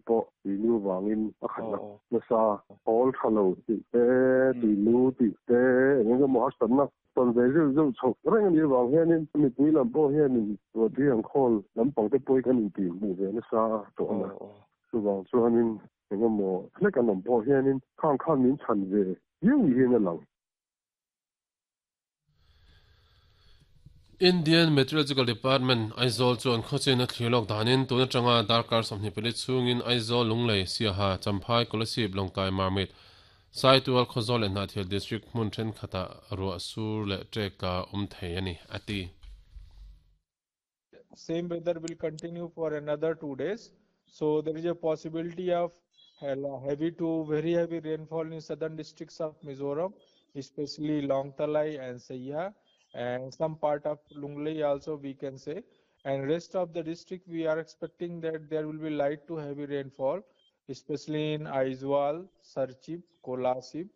pawh tuinu vangin a khat nasa. Hawl tha lo tih te, tuinu tih te, eng eng emaw harsatna tawn ve zeuh zeuh chhoh reng a nih avang hianin mipui lam pawh hianin ruahtui ang khawl lampang te pawh hi kan intihhmuh ve nasa tawh a. Chuvang chuanin eng emaw hlek an awm pawh hianin khang khan min chhan ve viau ni hian a lang. Indian Meteorological Department, Aizawl chuan khawchin a thlir lawk danin tun atanga darkar 24 chhungin Aizawl, Lunglei, Siaha, Champhai, Kolasib, Lawngtlai, Marmit, Saitual, Khawzawl leh Hnahthial District hmun thenkhatah ruah sur leh ṭek tla awm thei a ni, a ti. Same weather will continue for another 2 days. So there is a possibility of heavy to very heavy rainfall in southern districts of Mizoram, especially Lawngtlai and Saiha, and some part of Lunglei also we can say. And rest of the district we are expecting that there will be light to heavy rainfall, especially in Aizawl, Serchhip, Kolasib,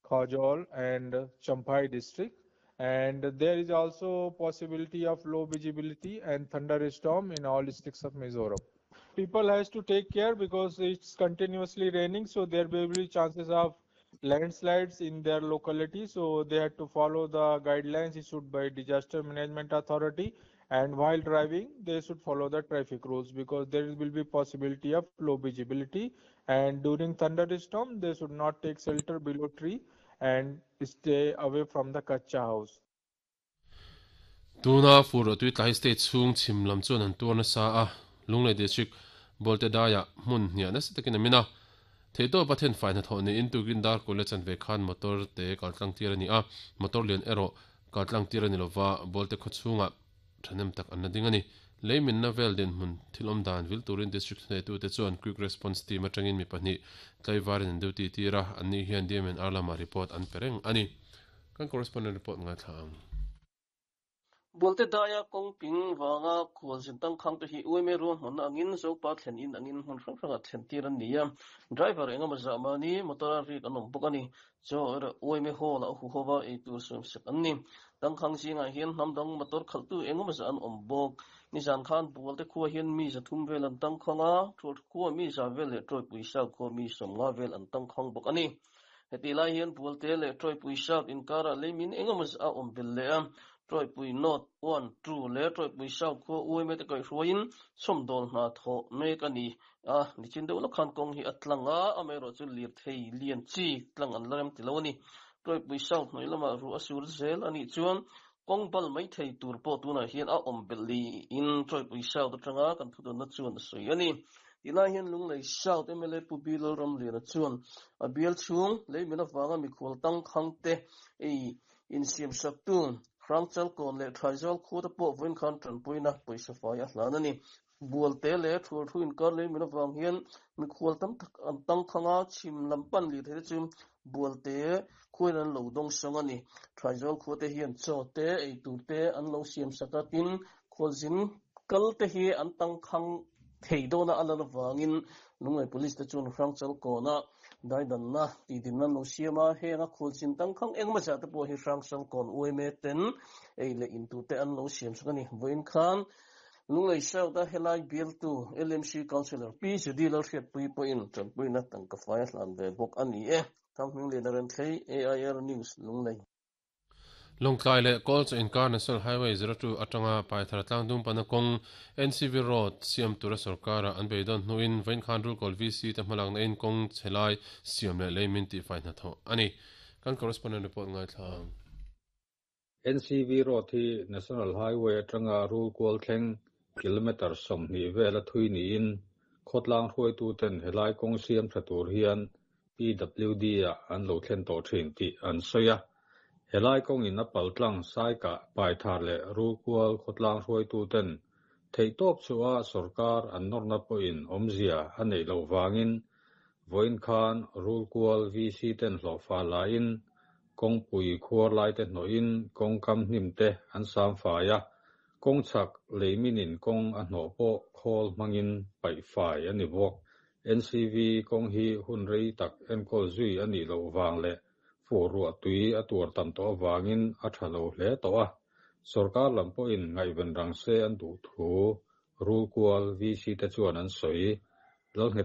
Khawzawl and Champhai district. And there is also possibility of low visibility and thunderstorm in all districts of Mizoram. People has to take care because it's continuously raining, so there may be chances of landslides in their locality. So they had to follow the guidelines issued by Disaster Management Authority, and while driving they should follow the traffic rules because there will be possibility of low visibility, and during thunderstorm they should not take shelter below tree and stay away from the kacha house. Tuna fur tui tlai state chhung chhim lam chuan an tuar nasa a, Lunglei District Bolte daiah hmun hniah nasa takin a min a. Theihtawp a thenfai hnathawh niin tukin dar kul leh chanve khan motor te kaltlang tir a ni a, motor lian erawh kaltlang tir a ni lova, Bolte khaw chhungah thahnem tak an la ding a ni. Lei minna vel dinhmun thil awm dan vil turin District thuneitute chuan Quick Response Team atangin mi pahnih tlaivarin an duty tir a, anni hian DMNR lamah report an pe reng a ni. Kan correspondent report ngaithla ang. Bualte daia kawng ping vanga khualzin tangkhang te hi UMA ruahmanna angin Zopa thlen in angin hmun hrang hrangah thlen tir an ni a, driver engemaw zah mahni motor a rik an awm bawk a ni. Chaw erawh UMA hall ah a hu hova ei tur suam sek an ni. Tangkhang zingah hian hnam dang motor khalhtu engemaw zah an awm bawk. Nizan khan Bualte khua hian mi zathum vel an tangkhang a, Thualthu khua mi za vel leh Tawipui Sau khua mi 50 vel an tangkhang bawk a ni. Hetih lai hian Bualte leh Tawipui South inkarah leimin engemaw zah a awm belh leh a, Tawipui North, One, Two leh Tawipui South khua UMA te kaihhruaiin chhawmdawl hna thawh mek a ni a, nichin deuh lawk khan kawng hi a tlang a, amaherawhchu lirthei lian chi tlang an la rem ti lo a ni. Tawipui South hnuai lamah ruah a sur zel a nih chuan kawng bal mai thei tur pawh tunah hian a awm belh niin Tawipui South atanga kan thudawnna chuan a sawi a ni. Tilai hian Lunglei South mla Pu Bi Lalramliana chuan a bial chhung leimin avanga mikhual tangkhangte ei insiamsaktu Hrangchalkawn leh Thaizal khuate pawh vawiin khan tanpuina pawisa fai a hlan a ni. Bualte leh Thualthu inkar leimin avang hian mikhual tam tak an tangkhang a, chhim lam pan lirthei te chu Bualte khuain an lo dawngsawng a ni. Thaizal khuate hian chaw te, eitur te an lo siamsak a, tin khualzin kal te hi an tangkhang thei dawna a lan avangin Lunglei Police te chuan Hrangchalkawnah daidanna tihdinna an lo siam a, heng a khualzin tangkhang engemaw zah te pawh hi Hrangchalkawn UMA ten ei leh in tur te an lo siamsak a ni. Vawiin khan Lunglei South a helai bialtu LMC Councillor Pi Judy Lalhriatpuii pawhin tanpuina tangka fai a hlan ve bawk a ni e. Thanghmingliana Renthlei, AIR News, Lunglei. Lawngtlai leh Kawlchaw inkar National Highway 02 atanga Paithar tlangdung pana kawng NCV Road siam tura sorkara an beidawn hnuin vawiin khan Rulkawl VC te hmalakna in kawng chhe lai siam leh lei min tihfai hnathawh a ni. Kan correspondent report ngaithla ang. NCV Road hi National Highway atanga Rulkual thleng kilometre 20 vela thui niin khawtlang hruaituten helai kawng siam tha tur hian PWD ah an lo thlen tawh thin tih an sawi a. Helai kawngin a paltlang Saikah, Paithar leh Rulkual khawtlang hruaituten theihtawp chhuah sorkar an nawrna pawhin awmzia a neih loh vangin vawiin khan Rulkual VC ten hlawhfa laiin kawngpui khuar laite hnawhin kawngkam hnim te an sam fai a, kawng chhak leiminin kawng a hnawh pawh khawl hmangin paih fai a ni bawk. NCV kawng hi hun rei tak enkawl zui a nih loh vang leh fuh ruah tui a tuar tam tawh avangin a tha lo hle tawh a. Sorkar lam pawhin ngaihven rang se an duh thu Rulkual VC te chuan an sawi. Lalngheta.